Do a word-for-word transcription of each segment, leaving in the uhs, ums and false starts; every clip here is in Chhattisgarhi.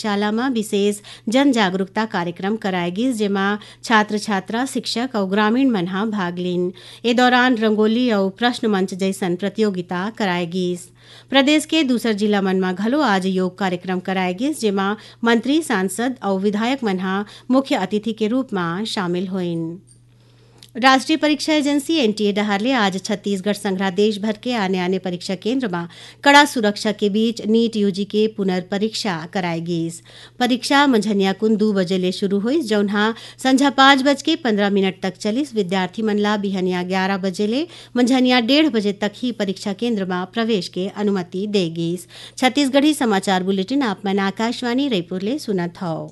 शाला म विशेष जन जागरूकता कार्यक्रम कराए गिस, जेमा छात्र-छात्रा, शिक्षक अउ ग्रामीण मन ह भाग लीन। ए दौरान रंगोली अउ प्रश्न मंच जइसन प्रतियोगिता कराए गिस। प्रदेश के दूसर जिला मन म घलो आज योग कार्यक्रम कराए गिस, जेमा मंत्री, सांसद अउ विधायक मन ह मुख्य अतिथि के रूप म शामिल होइन। राष्ट्रीय परीक्षा एजेंसी, एनटीए, डहार ले आज छत्तीसगढ़ संघरा देश भर के आने-आने परीक्षा केंद्र म कड़ा सुरक्षा के बीच नीट यूजी के पुनर्परीक्षा कराए गिस। परीक्षा मंझनिया कुन दू बजे ले शुरू होइस, जौन ह संझा पाँच बज के पंद्रह मिनट तक चलिस। विद्यार्थी मन ला बिहनिया ग्यारह बजे ले मंझनिया डेढ़ बजे तक ही परीक्षा केंद्र म प्रवेश के अनुमति दे गिस। छत्तीसगढ़ी समाचार बुलेटिन आप मन आकाशवाणी रायपुर ले सुनत हव।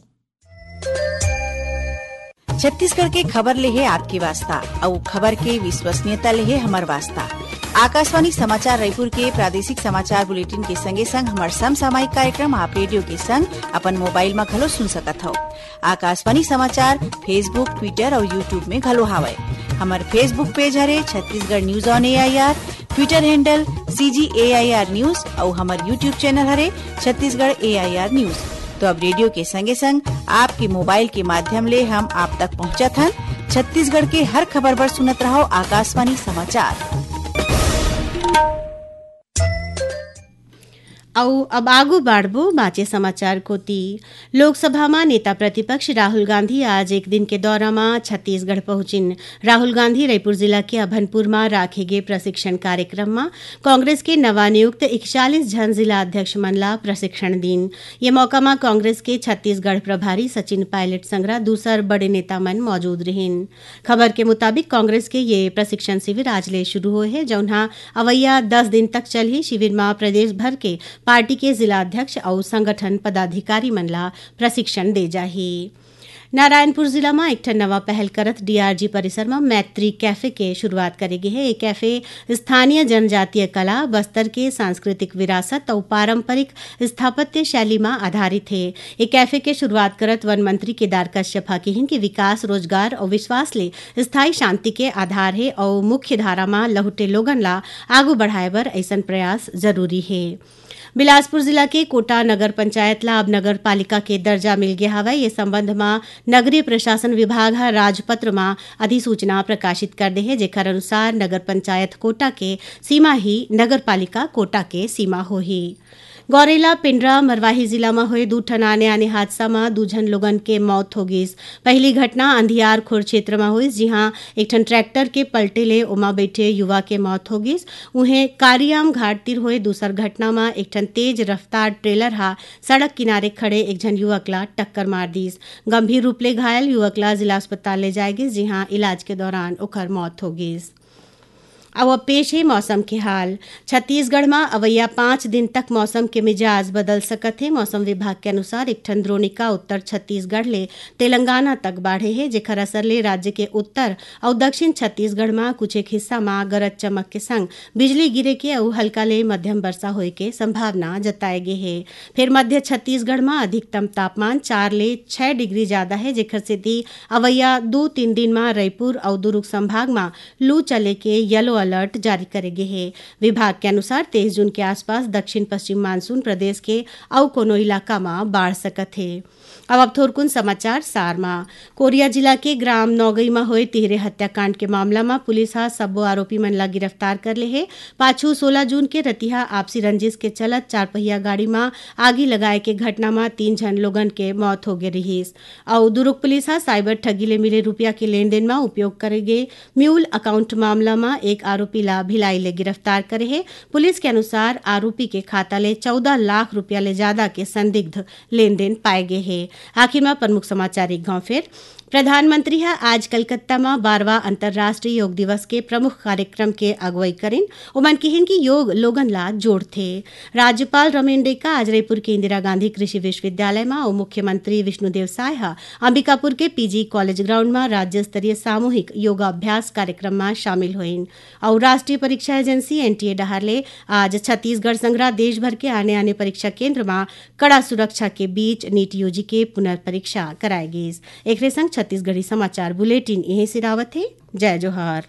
छत्तीसगढ़ के खबर ले हे आपके वास्ता, अउ खबर के विश्वसनीयता ले हे हमर वास्ता। आकाशवाणी समाचार रायपुर के प्रादेशिक समाचार बुलेटिन के संगे संग हमर समसामयिक कार्यक्रम आप रेडियो के संग अपन मोबाइल म घलो सुन सकत हव। आकाशवाणी समाचार Facebook, Twitter अउ YouTube में घलो हावय। हमर Facebook पेज हरे Chhattisgarh news on AIR, Twitter handle CG AIR news अउ हमर YouTube चैनल हरे छत्तीसगढ़ एआईआर न्यूज। तो अब रेडियो के संगे संग आपके मोबाइल के माध्यम ले हम आप तक पहुंचत हन छत्तीसगढ़ के हर खबर बर सुनत रहव आकाशवाणी समाचार। अउ अब आगू बाढ़बो बाँचे समाचार कोति। लोकसभा म नेता प्रतिपक्ष राहुल गांधी आज एक दिन के दौरा म छत्तीसगढ़ पहुंचिन। राहुल गांधी रईपुर जिला के अभनपुर म राखे गे प्रशिक्षण कार्यक्रम म कांग्रेस के नवानियुक्त इकचालीस झन जिला अध्यक्ष मन ला प्रशिक्षण दीन। ये मौका म कांग्रेस के छत्तीसगढ़ प्रभारी सचिन पायलट संघरा दूसर बड़े नेता मन मौजूद रिहिन। खबर के मुताबिक, कांग्रेस के ये प्रशिक्षण शिविर आज ले शुरू होए हे, जउन ह अवइया दस दिन तक चलही। शिविर म प्रदेश भर के पार्टी के जिला अध्यक्ष अउ संगठन पदाधिकारी मन ला प्रशिक्षण दे जाही। नारायणपुर जिला म एक ठन नवा पहल करत डीआरजी परिसर म मैत्री कैफे के शुरुआत करे गे हे। ये कैफे स्थानीय जनजातीय कला, बस्तर के सांस्कृतिक विरासत अउ पारंपरिक स्थापत्य शैली म आधारित हे। ये कैफे के शुरुआत करत वन मंत्री केदार कश्यप ह किहिन कि विकास, रोजगार अउ विश्वास ले स्थायी शांति के आधार हे अउ मुख्य धारा म लहुटे लोगन ला आगू बढ़ाए बर अइसन प्रयास जरूरी हे। बिलासपुर जिला के कोटा नगर पंचायत ला अब नगर पालिका के दर्जा मिल गे हवय। ये संबंध म नगरीय प्रशासन विभाग ह राजपत्र म अधिसूचना प्रकाशित कर दे हे, जेकर अनुसार नगर पंचायत कोटा के सीमा ही नगर पालिका कोटा के सीमा होही। गौरेला पेंड्रा मरवाही जिला म होए दू ठन आने-आने हादसा म दू झन लोगन के मौत हो गिस। पहिली घटना अंधियार खोर क्षेत्र म होइस, जिहां एक ठन ट्रैक्टर के पलटे ले ओमा बइठे युवा के मौत हो गिस। उहें, कारियाम घाट तीर होए दूसर घटना म एक ठन तेज रफ्तार ट्रेलर ह सड़क किनारे खड़े एक झन युवक ला टक्कर मार दिस। गंभीर रूप ले घायल युवक ला जिला अस्पताल ले जाए गिस, जिहां इलाज के दौरान ओकर मौत हो गिस। अउ अब पेश हे मौसम के हाल। छत्तीसगढ़ म अवइया पाँच दिन तक मौसम के मिजाज बदल सकत हे। मौसम विभाग के अनुसार, एक ठन द्रोणिका उत्तर छत्तीसगढ़ ले तेलंगाना तक बाढ़े हे, जेखर असर ले राज्य के उत्तर अउ दक्षिण छत्तीसगढ़ म कुछ एक हिस्सा म गरज चमक के संग बिजली गिरे के अउ हल्का ले मध्यम वर्षा होए के संभावना जताए गे हे। फेर मध्य छत्तीसगढ़ म अधिकतम तापमान चार ले छै डिग्री जादा हे, जेखर सेती अवइया दू तीन दिन म रईपुर अउ दुरूग संभाग म लू चले के येलो अलर्ट जारी करे गे हे। विभाग के अनुसार, तेईस जून के आसपास दक्षिण पश्चिम मानसून प्रदेश के अउ कोनो इलाका म बाढ़ सकत हे। अब, अब थोरकुन समाचार सार म। कोरिया जिला के ग्राम नौगई म होए तिहरे हत्याकांड के मामला म पुलिस ह सब्बो आरोपी मन ला गिरफ्तार कर ले हे। पाछू सोलह जून के रतिहा आपसी रंजिश के चलत चारपहिया गाड़ी म आगी लगाए के घटना म तीन झन लोगन के मौत हो गे रिहिस। अउ दुरूग पुलिस ह साइबर ठगी ले मिले रूपिया के लेनदेन म उपयोग करे गे म्यूल अकाउंट मामला म एक आरोपी ला भिलाई ले गिरफ्तार करे हे। पुलिस के अनुसार, आरोपी के खाता ले चौदह लाख रूपिया ले जादा के संदिग्ध लेनदेन पाए गे हे। आखिर म प्रमुख समाचार एक घांव फेर। प्रधानमंत्री ह आज कलकत्ता म बारहवाँ अंतर्राष्ट्रीय योग दिवस के प्रमुख कार्यक्रम के अगुवई करिन। ओमन किहिन कि योग लोगन ला जोड़थे। राज्यपाल रमेन डेका आज रईपुर के इंदिरा गांधी कृषि विश्वविद्यालय म अउ मुख्यमंत्री विष्णुदेव साय ह अंबिकापुर के पीजी कॉलेज ग्राउंड म राज्य स्तरीय सामूहिक योगाभ्यास कार्यक्रम म शामिल होइन। अउ राष्ट्रीय परीक्षा एजेंसी, एनटीए, डहार ले आज छत्तीसगढ़ संघरा देश भर के आने-आने परीक्षा केंद्र म कड़ा सुरक्षा के बीच नीट यूजी के पुनर्परीक्षा कराए गिस। एकरे संग छत्तीसगढ़ी समाचार बुलेटिन इहें सिरावत हे। जय जोहार।